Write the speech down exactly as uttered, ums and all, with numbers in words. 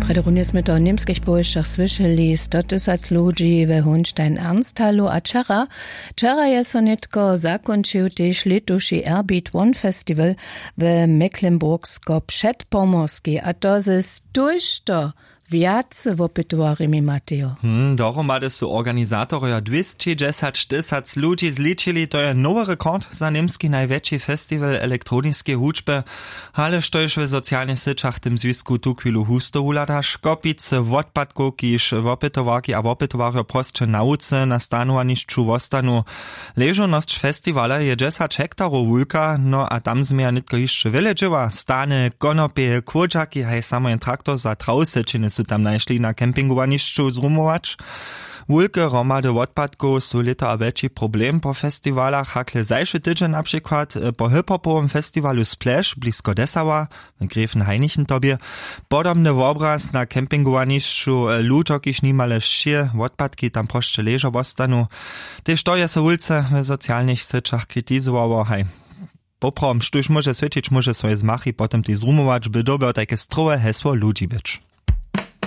Prjedy runje smy to w němskich powěsćach słyšeli, sto tysac ludźi we hunstein ernsthalu a wčera wčera je so nětko zakónčił tež lětuši erbit one festiwal we mecklenburgsko předpomorskej a to ze stužto wjace wopytowarjemi matejo. Hm dohromady su organizatorjo dwěsćidźesać tysac ludźi zličili to je nowy rekord za němski najwjetši festiwal elektroniskeje hudźby. Ale štož w socialnych syćach w tym zwisku tuchwilu husto wuhlada škopicy wotpadkow kiž wopytowarki a wopytowarjo prosće na wuce na stanowanišću wostanu. Ležownosć festiwala je dźesać hektarow wulka no a tam změja nětko hišće wjele dźěła stany konopje kłódźaki haj samo jen traktor za trawsyćiny su tam našli na campingowanišću zrumować. Wulke hromady wotpadkow su lěto a wjetši problem po festiwalach hakle zašły tydźeń na přikład po hiphopowym festiwalu splash blisko dessauer w gräfenhainichen tobje. Podobny wobraz na campingowanišću ludźo kiž nimale wšě wotpadki tam prosće ležo wostanu. Tež to je so wulce w socialnych syćach kritizowało haj. Poprawom štóž móže swěćić móže swoje zmachy potom tej zrumować by dyrbjał tajke strowe hesło ludźi być.